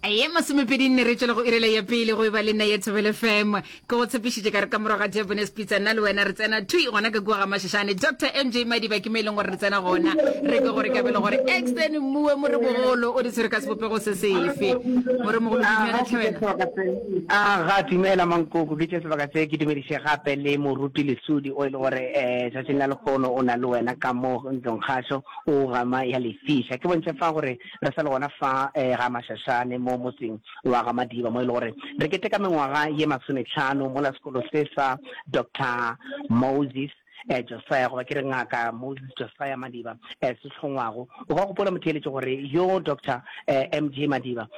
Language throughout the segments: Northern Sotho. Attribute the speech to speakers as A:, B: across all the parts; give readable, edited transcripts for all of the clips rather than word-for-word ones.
A: Ye masomepedinne re tšwela go irela ya pele go e ba le nna ya Thobela FM. Ke go tshepišitše ka re ka morago ga Debonair's Pizza nna le wena re tsena thwi gona ka kua ga Mashashane. Doctor MJ Madiba ke mo e leng gore re tsena gona. Re kwe gore kabelo gore Exton Mmuwe Moremogolo o di tshwere ka sebopego se sefe. Moremogolo dumela tlhe wena.
B: A ga dumela Mankoko, ke tše sebaka se ke dumediše gape le Moruti Lesudi o e le gore um tšatšing la lehono o na le wena ka mo ntlong kgašo o gama ya lefiša. Ke bontšhe fa gore Re sa le gona fa ga Mashashane mo motseng wa ga Madiba mo e le gore re keteka mengwaga ye masometlhano mola sekolo se sa Doctor Moses Josiah goba ke re Ngaka Moses Josiah Madiba se hlongwago. O ka gopola motheeletši gore yo Doctor MJ Madiba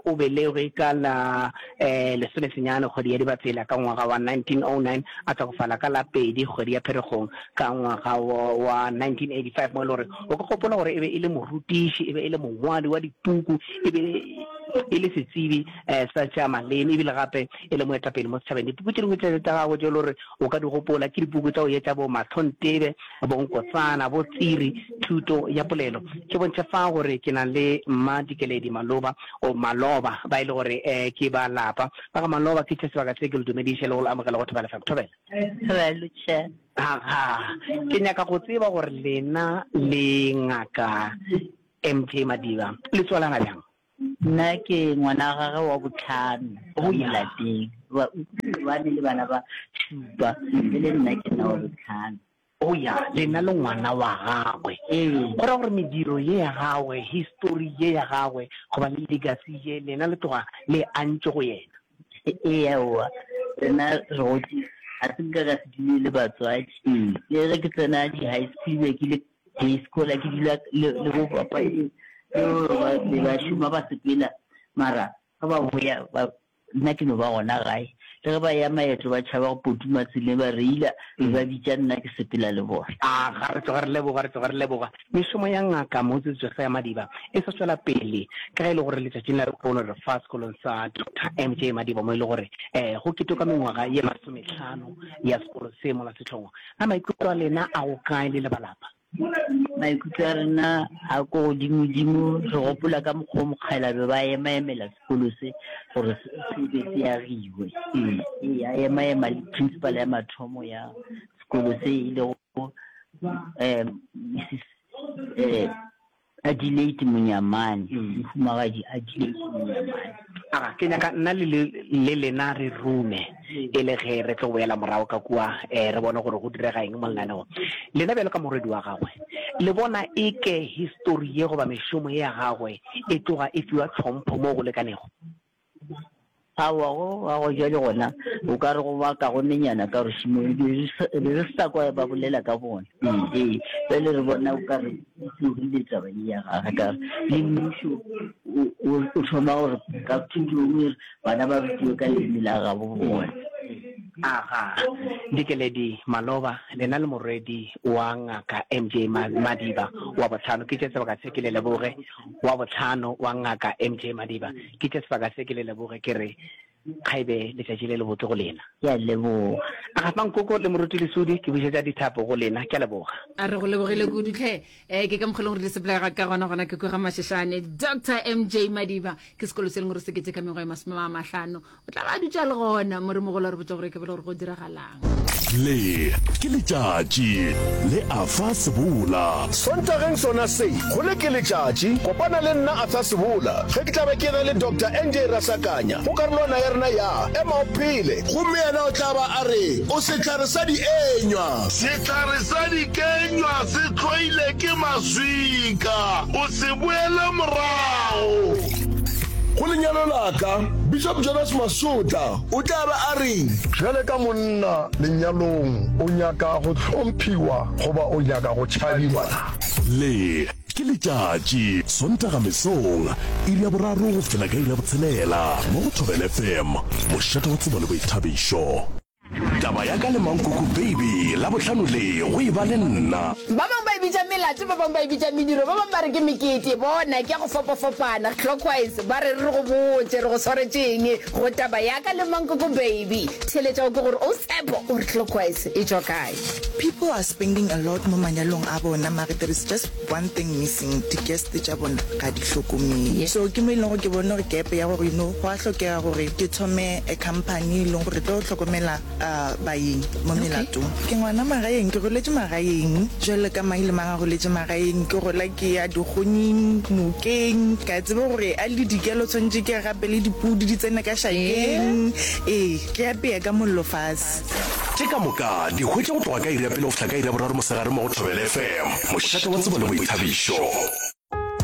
B: o belegwe ka la lesomesenyane kgwedi ya Dibatsela ka ngwaga wa 1909 a hlokofala ka la pedi kgwedi ya Pherekgong ka ngwaga wa 1985 mo e le gore o ka gopola gore e be e le morutiši, e be e le mongwadi wa dipuku, e be e le setsebi um sa tša maleme ebile gape e le moetapele mo setšhabeng. Dipuku tše dingwe tša gagwe tše e le gore o ka di gopola ke dipuku tša go etša bo Mahlontebe, bo Nkotsana, bo Tsiri, Thuto ya Polelo. Ke bontšhe fa gore ke na le Mma Dikeledi Maloba, o Maloba, ba e le gore um ke ba lapa. Ba ga Maloba ke tše sebaka se ke le dumediše le go le amogela go Thobela FM. Thobela.
C: Thobela, Tšhe.
B: Aga, ke nyaka go tseba gore lena le Ngaka MJ Madiba le tswalana bjang?
C: Nna ke ngwana wa gagwe wa bohlano ka mo lapeng. Ba ba ne le bana ba šupa, e le nna ke nna wa bohlano.
B: Oh ya, lena le ngwana wa gagwe.
C: Ee.
B: Go ra gore mediro ye ya gagwe, histori ye ya gagwe, goba le legacy ye, lena le tloga le e antše go yena.
C: Ee, aowa, rena re gotše, ga se nka ka se dule le batswadi. Le ge ke tsena di-high school, be ke le day scholar, ke dula le, le bo papa le ba, be ba šoma ba sepela, mara ge ba boya ba, nna ke no ba gona gae. Le ge ba ya maeto ba tšhaba go potuma tseleng ba reila, be ba bitša nna ke sepela le bona.
B: A ga re tloga re leboga, re tloga re leboga. Mešomo ya Ngaka Moses Josiah Madiba e sa tšwela pele ka ge e le gore letšatšing la lehono re fa sekolong sa Doctor MJ Madiba mo e le gore go keteka mengwaga ye masomehlano ya sekolo se mola sehlongwa. Na maikutlo a lena a go kae le le ba lapa?
C: Maikutlo a rena a ko godimodimo, re gopola ka mokgwa o mokgalabje ba emaemela sekolo se gore se be se agiwe. Ee, a emaema le principal ya mathomo ya sekolo se e lego um Mrs um Adelaide Monyamane, Mohumagadi Adelaide Monyamane.
B: Aga, ke nyaka nna le, le lena re rume e le ge re tlo boela morago ka kua, eh, re bone gore go direga eng mo lenaneong. Lena bjalo ka morwedi wa gagwe, le bona eke histori ye goba mešomo ye ya gagwe e tloga e fiwa tlhompho mo go lekanego?
C: Aowa, go wa go bjale gona o ka re go ba kagonenyana ka gore šimo e be re re sa kwa ba bolela ka bona. Ee, bjale re bona o ka re e tlogile taba ye ya gage ka gore le mmušo o thoma gore ka thutong e re bana ba rutiwe ka leleme la gabo bona.
B: Aga, Dikeledi Maloba, lena le morwedi wa Ngaka MJ Madiba wa bohlano, ke tše sebaka se ke le leboge. Wa bohlano wa Ngaka MJ Madiba, ke tše sebaka se ke le leboge ke re kgaebe letšatši le lebotse go lena.
C: Ke a leboga.
B: Aga Mankoko le Moruti Lesudi, ke bušetša dithapo go lena. Ke a leboga.
A: A re go lebogile kudu tlhe. Eh, ke ka mokgwa e leng gore di sepela ka gona gona ke kwa ga Mashashane. Doctor MJ Madiba ke sekolo se e leng gore se keteka mengwaga e masome a mahlano. O tla ba a dutše a le gona mo re mogolo a re botša gore ke bele gore go diragalang.
D: Le ke letšatši le Arthur Sebola.
E: Sontageng sona se, go le ke letšatši, kopana le nna Arthur Sebola ge ke tla be ke ena le Doctor NJ Rasakanya go karolwana ya rena ya Ema o Phele. Gomme yena o tla ba a re, O sehlare sa dienywa.
F: Sehlare sa dikenywa se hloile ke maswika, o se boele morago.
E: Go lenyalo la ka, Bishop Jonas Masotla o tla ba a reng?
G: Bjale ka monna lenyalong, o nyaka go hlomphiwa goba o nyaka go tšhabiwa na?
D: Le ke letšatši, Sontaga mesong, iri ya boraro go fihla ka iri ya botshelela, mo go Thobela FM, mošate wa tsebo le boithabišo. Taba ya ka le Mankoko Baby, Labohlano le go e ba le nna.
A: Ba bangwe ba e bitša melato, ba bangwe ba e bitša mediro, ba bangwe ba re ke mekete. Bona, ke ya go fapafapana. Clockwise, ba re re go botše re go swaretše eng go taba ya ka le Mankoko Baby. Theeletša o kwe gore o Tshepo o re Clockwise e tšwa kae.
H: People are spending a lot mo manyalong a bona mare there is just one thing missing, di guest tša bona ga di hlokomele. So ke mo e leng gore ke bone gore gap ya gore you know go a hlokega gore ke thome a company e leng gore e tlo hlokomela baeng mo melatong. Ke ngwana magaeng, ke goletše magaeng jwalo ka mang le mang a goletše magaeng. Ke gola ke ya dikgonyeng, nokeng, ka tseba gore a le dikelo tshwanetše ke gape le dipudi di tsene ka šakeng. Ee, ke apea ka mollo fase.
D: Tše ka moka di hwetše go tloga ka iri ya pele go fihla ka iri ya boraro mosegare mo go Thobela FM, mošate wa tsebo le boithabišo.